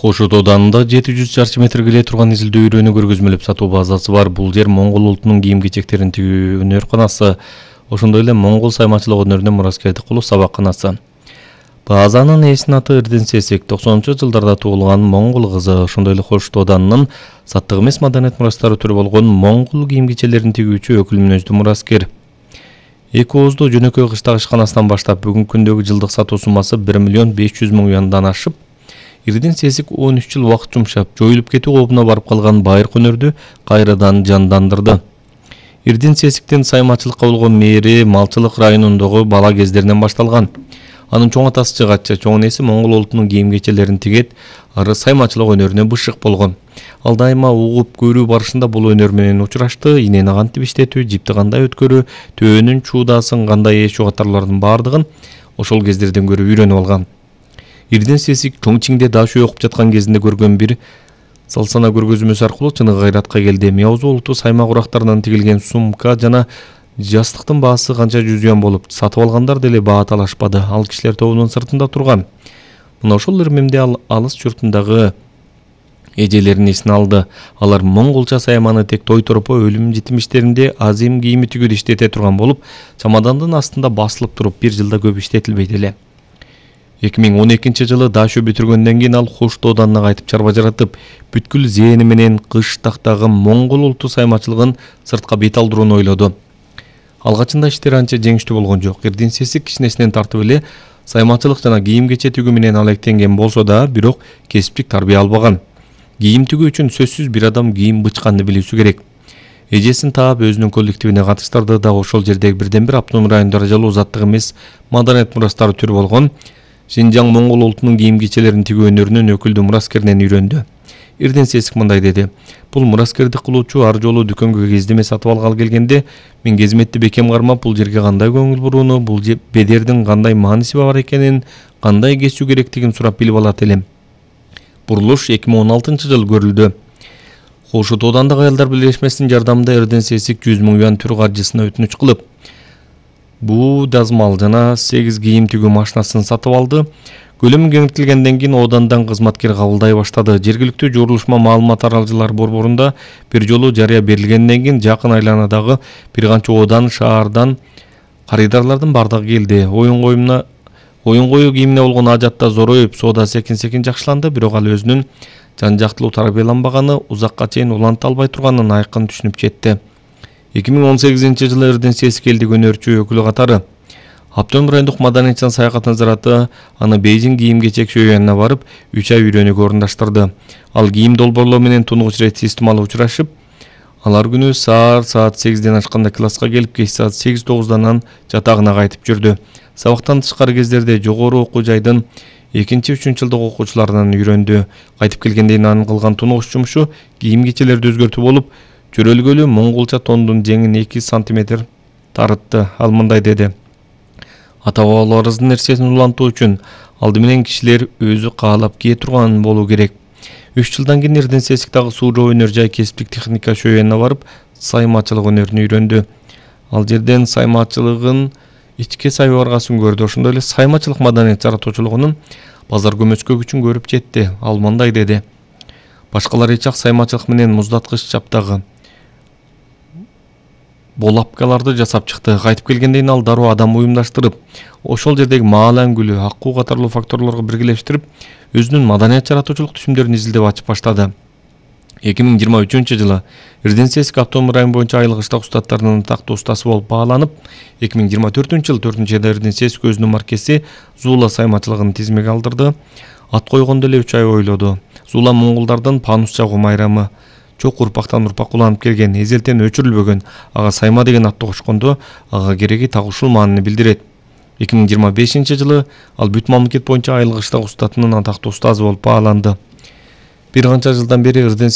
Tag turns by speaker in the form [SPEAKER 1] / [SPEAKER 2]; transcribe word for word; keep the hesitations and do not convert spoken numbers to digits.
[SPEAKER 1] Кошут ауданында жети жүз чарчы метр келе турган изилдөө үйрөнү көргөзмөлөп сатуу базасы бар. Бул жер моңгол улутунун кийим-кечектерин тигүү өнөрканасы, ошондой эле моңгол саймачылык өнөрүнө мураскердик кылуу сабакканасы. Базанын ээсинин аты Эрден Сесик, токсонунчу жылдарда туулган моңгол кызы, ошондой эле Кошут ауданынын саттык эмес маданият мурастары түрү болгон моңгол кийим-кечелерин тигүүчү өкүл мүнөздүү мураскер. Эки ооздуу жөнөкөй кыштак ишканасынан баштап бүгүнкү күндөгү жылдык сатуу суммасы бир миллион беш жүз миң юандан ашып, Эрден Сесик он үч жыл убакыт жумшап, жоюлуп кетүү коопуна барып калган байыркы өнөрдү кайрадан жандандырды. Эрден Сесиктин саймачылыкка болгон мээри Малчылык районундагы бала кездеринен башталган. Анын чоң атасы жыгатчы, чоң энеси моңгол улутунун кийим-кечелерин тигет, ары саймачылык өнөрүнө бышык болгон. Ал дайыма угуп көрүү барышында бул өнөр менен учурашты. Инени кантип иштетүү, жипти кандай өткөрүү, төөнүн чуудасын кандай ээчүү катарлардын баардыгын ошол кездерден көрүп үйрөнүп алган. Эрден Сесик Чоңчиңде дашуу окуп жаткан кезинде көргөн бир салсана көргөзмөсү аркылуу чыныгы кайратка келди. Мияузу улуттуу сайма курактарынан тигилген сумка жана жастыктын баасы канча жүз юан болуп, сатып алгандар деле баа талашпады. Ал кишилер тобунун сыртында турган. Мына ошол ирмемде ал алыс журтундагы эжелерин эсине алды. Алар монголча сайманы тек той торопо өлүм житим иштеринде азим кийими тигүүдө иштете турган болуп, чамадандын астында басылып туруп бир жылда көп иштетилбейт эле. эки миң он экинчи жылы дашуу бүтүргөндөн кийин ал Кошут ауданына кайтып чарба жаратып, бүткүл зээни менен кыштактагы моңгол улуттуу саймачылыгын сыртка бет алдырууну ойлоду. Алгачында иштер анча жеңиштүү болгон жок. Эрден Сесик кичинесинен тартып эле саймачылык жана кийим-кече тигүү менен алектенген болсо да, бирок кесиптик тарбия албаган. Кийим тигүү үчүн сөзсүз бир адам кийим бычканды билүүсү керек. Эжесин таап өзүнүн коллективине катыштырды да ошол жердеги бирден бир автоном район даражалуу заттык эмес маданият мурастары түрү болгон Шинжаң моңгол улутунун кийим-кечелерин тигүү өнөрүнүн өкүлдүү мураскеринен үйрөндү. Эрден Сесик мындай деди: "Бул мураскердик кылуучу ар жолу дүкөнгө кездеме сатып алгалы келгенде, мен кезметти бекем кармап, бул жерге кандай көңүл бурууну, бул бедердин кандай мааниси бар экенин, кандай кесүү керектигин сурап билип алат элем." Бурулуш эки миң он алтынчы жылы көрүлдү. Кошут аудандык аялдар бирлешмесинин жардамында Эрден Сесик жүз миң юан түр каржысына өтүнүч кылып, буу дазмал жана сегиз кийим тигүү машинасын сатып алды. Көлөмү кеңейтилгенден кийин аудандан кызматкер кабылдай баштады. Жергиликтүү журулушма маалымат аралжылар борборунда бир жолу жарыя берилгенден кийин жакын айланадагы бир канча аудан, шаардан карыдарлардын бардыгы келди. Оюн коюмуна оюн коюу кийимине болгон ажатта зороюп, соода секин-секин жакшыланды, бирок ал өзүнүн жан-жактылуу тарбияланбаганы, узакка чейин уланта албай турганын айкын түшүнүп жетти. эки миң он сегизинчи жылы Эрден Сесик элдик өнөрчү өкүлү катары Аптон райондук маданият жана саякат назараты аны Бейжиң кийим-кечек шөйөнүнө барып, үч ай үйрөнүүгө орундаштырды. Ал кийим долбоорлоо менен тунугуч ирет системалуу учурашып, алар күнү саар саат сегизден ашканда класска келип, кеч саат сегиз тогуздан анан жатагына кайтып жүрдү. Сабактан тышкары кездерде жогору окуу жайдын экинчи үчүнчү жылдык окуучуларынан үйрөндү. Кайтып келгенден кийин анын кылган тунугуч жумушу кийим-кечелерди өзгөртүү болуп, чөрөлгөлүү монголча тондун жеңин эки сантиметр тарытты. Ал мындай деди: "Ата-бабаларыбыздын нерсесин улантуу үчүн алды менен кишилер өзү каалап кие турган болуу керек." үч жылдан кийин Эрден Сесик дагы Суу-Жоо өнөр жай кесиптик техника шөйөнүнө барып, саймачылык өнөрүн үйрөндү. Ал жерден саймачылыгын ичке сайбаргасын көрдү. Ошондой эле саймачылык маданият жаратуучулугунун базар көмөскө күчүн көрүп жетти. Ал мындай деди: "Башкалар эч ак саймачылык менен муздаткыч чаптагы болапкаларды жасап чыкты. Кайтып келгенден ал дароо адам уюмдаштырып, ошол жердеги маал аңгүлү, акуу катарлуу факторлорго биргелештирип, өзүнүн маданият жаратуучулук түшүмдөрүн изилдеп ачып баштады." эки миң жыйырма үчүнчү жылы Эрден Сесик Автоном район боюнча айыл кыштак устаттарынын атактуу устасы болуп бааланып, эки миң жыйырма төртүнчү жылы төртүнчү айда Эрден Сесик өзүнүн маркеси Зуула саймачылыгын тизмеге алдырды. Ат койгондо эле үч ай ойлоду. Зуула монголдардын панус чагуу майрамы. Чок урпактан урпакка уланып келген, эзелтен өчүрүлбөгөн. Ага сайма деген атты кошкондо, ага кереги так ушул маанини билдирет. эки миң жыйырма бешинчи жылы ал бүт мамлекет боюнча айыл кыштак устатынын атактуу устазы болуп бааланды. Бир канча жылдан бери Эрден